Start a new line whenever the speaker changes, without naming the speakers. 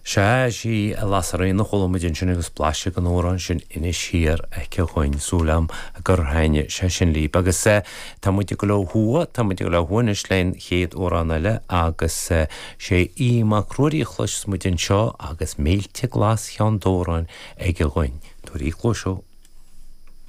Sea, sí Lasairíona a chuala muid ansin agus blaiseadh den amhrán sin Inis Thiar aici dhúinn. Súil agam gur thaitnigh sé sin libh. Agus tá muid ag dul ó thuaidh, tá muid ag dul ó thuaidh anois le an chéad amhrán eile agus sé Aodh Mac Ruairí a chloisfeas muid anseo agus Mílte Glas Cheann Dobhráin aige dhúinn. Tabhair cluas.